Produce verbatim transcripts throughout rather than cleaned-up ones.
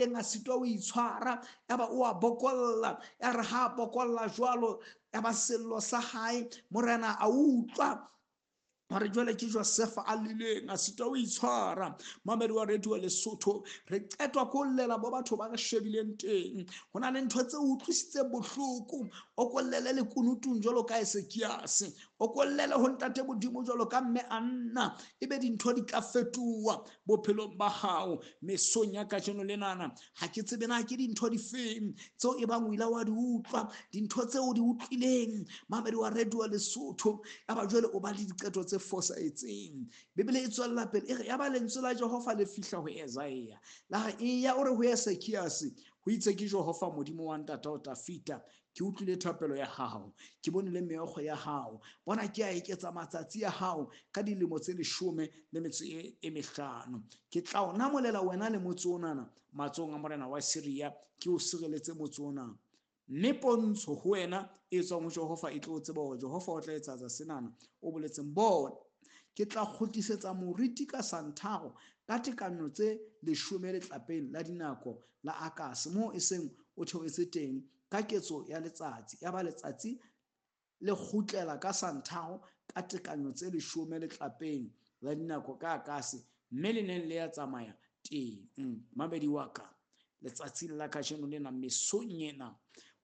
A sitwa ho itshwara, yaba o a bokolla. Ya re ha bokolla jwalo, yaba sello sa hae morena a utlwa hore jwale ke Josefa a lileng, a sitwa ho itshwara. Mamedi wa radio Lesotho, re qetwa ko llela bo batho ba re shebileng teng. Ho na le ntho tse utlwisitseng bohloko. O kollele lekunutung jwalo ka Esekiase, o kollele ho ntate Modimo jwalo ka mme Anna, ebe dintho di tla fetoha bophelong ba hao. Mesong ya kajeno lenana, ha ke tsebe na ke dintho difeng tseo e bang o ile wa di utlwa, dintho tseo o di utlwileng, mamedi wa radio Lesotho, yaba jwale o ba le diqeto tse fosahetseng. Bibele e tswella pele e re, yaba lentswe la Jehova le fihla ho Esaia, la re, eya o re ho Esekiase, ho itse ke Jehova Modimo wa ntatao Tafita, ke utlwile thapelo ya hao, ke bone le meokgo ya hao. Bona, ke a eketsa matsatsi a hao ka dilemo tse leshome le metso e, e mehlano. Ke tla o namolela wena le motse onana matsohong a morena wa Siria, ke o sireletse motse ona. Mme pontsho ho wena e tswang ho Jehova e tlo tseba hore Jehova o tla etsa senana o boletseng. Bona, ke tla kgutlisetsa moriti ka santharo ka tekanyo tse leshome letlapeng la dinako la Akase, moo e seng o theohetse teng ka ketso ya letsatsi. Yaba letsatsi le kgutlela ka santharo ka tekanyo tse leshome letlapeng la dinako ka Akase, mme le neng le ya tsamaya teng. Mamedi wa ka, letsatsing la kajeno lena, mesong ena,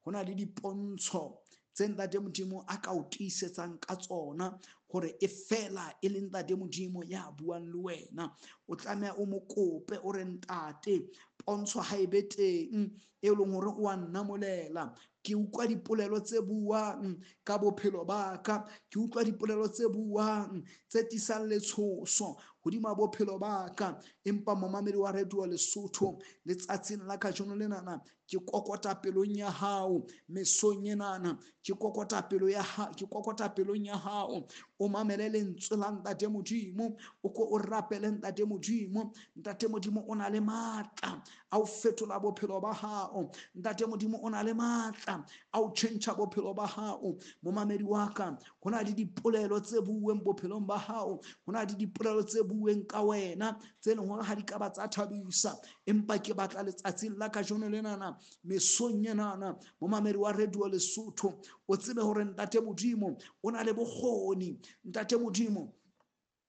ho na le dipontsho tse ntate Modimo a ka o tiisetsang ka tsona hore e fela e le ntate Modimo ya buang le wena. O tlameha o mo kope, o re, ntate, pontsho ha e be teng e leng hore o a nnamolela. Ke utlwa dipolelo tse buang ka bophelo ba ka, ke utlwa dipolelo tse buang tse tisang letshoso hodima bophelo ba ka. Empa momamedi wa radio Lesotho, letsatsing la kajeno lenana, ke kokota pelong ya hao. Mesong enana, ke kokota pelo ya ha, ke kokota pelong ya hao. O mamele lentswe la ntate Modimo, o ko o rapele ntate Modimo. Ntate Modimo o na le matla a ho fetola bophelo ba hao. Ntate Modimo o na le matla a ho tjhentjha bophelo ba hao. Momamedi wa ka, ho na le dipolelo tse buuweng bophelong ba hao, ho na le dipolelo tse buuweng ka wena tse leng hore ha di ka ba tsa thabisa. Empa ke batla letsatsing la kajeno lenana, mesong enana, momamedi wa radio Lesotho, o tsebe hore ntate Modimo o na le bokgoni. Ntate Modimo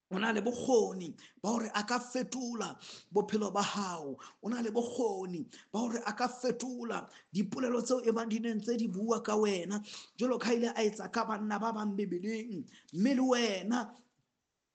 o na le bokgoni ba hore a ka fetola bophelo ba hao. O na le bokgoni ba hore a ka fetola dipolelo tseo e bang di neng tse di bua ka wena, jwalo ka ile a etsa ka banna ba bang Bibeleng. Mme le wena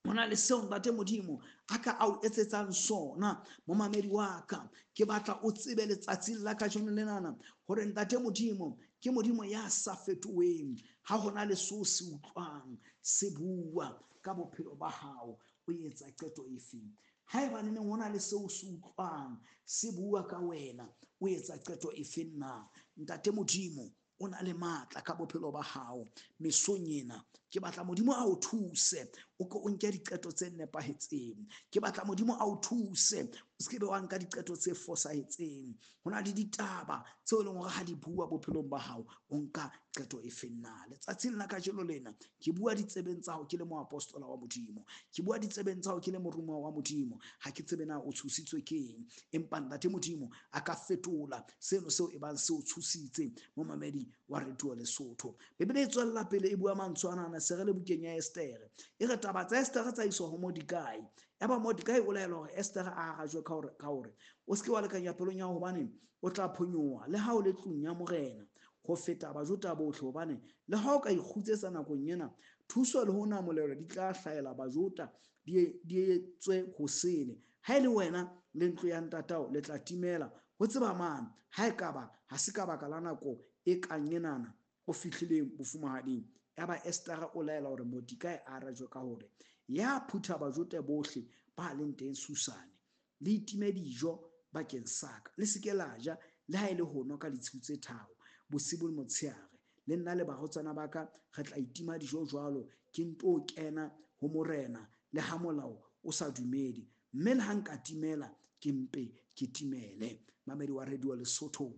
ho na le seo ntate Modimo a ka a o etsetsang sona. Momamedi wa ka, ke batla o tsebe letsatsing la kajeno lenana hore ntate Modimo ke Modimo ya sa fetoheng. Ha hona le seo se utlwang se bua ka bophelo ba hao, o etsa qeto efeng? Haeba neneng ho na le seo se utlwang se bua ka wena, o etsa qeto efeng na? Ntate Modimo o na le matla ka bophelo ba hao. Mesong ena, ke batla Modimo a o thuse, o ko o nke diqeto tse nepahetseng. Ke batla Modimo a o thuse, o se ke be wa nka diqeto tse fosahetseng. Ho na le ditaba tseo e leng hore ha di bua bophelong ba hao, o nka qeto efeng na? Letsatsing la kajeno lena, ke bua ditsebeng tsa hao ke le moapostola wa Modimo, ke bua ditsebeng tsa hao ke le morumuwa wa Modimo. Ha ke tsebe na o tshositswe ke eng, empa ntate Modimo a ka fetola seno seo e bang se o tshositse. Momamedi wa radio Lesotho, Bibele e tswella pele e bua mantswe anana, se re le bukeng ya Estere. E re taba tsa Estere tsa iswa ho Mordekai. Yaba Mordekai o laela hore Estere a arajwe ka hore, ka hore o se ke wa lekanya pelong ya hao, hobane o tla phonyoha le ha o le tlung ya morena ho feta Bajuda bohle. Hobane le ha o ka ikgutsetsa nakong ena, thuso le ho namolelwa di tla hlahela Bajuda, di, di etswe hosele. Ha e le wena le ntlo ya ntatao le tla timela. Ho tseba mang ha e ka ba ha se ka baka la nako e kang enana o fihlileng bofumahading? Yaba Estere o laela hore Mordekai a arajwe ka hore ya phutha Bajuda bohle ba leng teng Susane, le itime dijo bakeng sa ka, le se ke la ja le ha e le ho nwa ka ditshiu tse tharo, bosibu le motshehare. Le nna le barwetsana ba ka re tla itima dijo jwalo, ke nto kena ho morena le ha molao o sa dumele. Mme le ha nka timela, ke mpe ke timele. Mamedi wa radio Lesotho,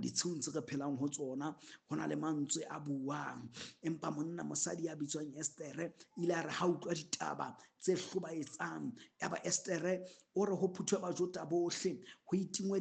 ditshiung tse re phelang ho tsona ho na le mantswe a buang. Empa monna mosadi ya bitswang Estere ile a re ha utlwa ditaba tse hlobaetsang, yaba Estere o re ho phuthwe Bajuda bohle, ho itingwe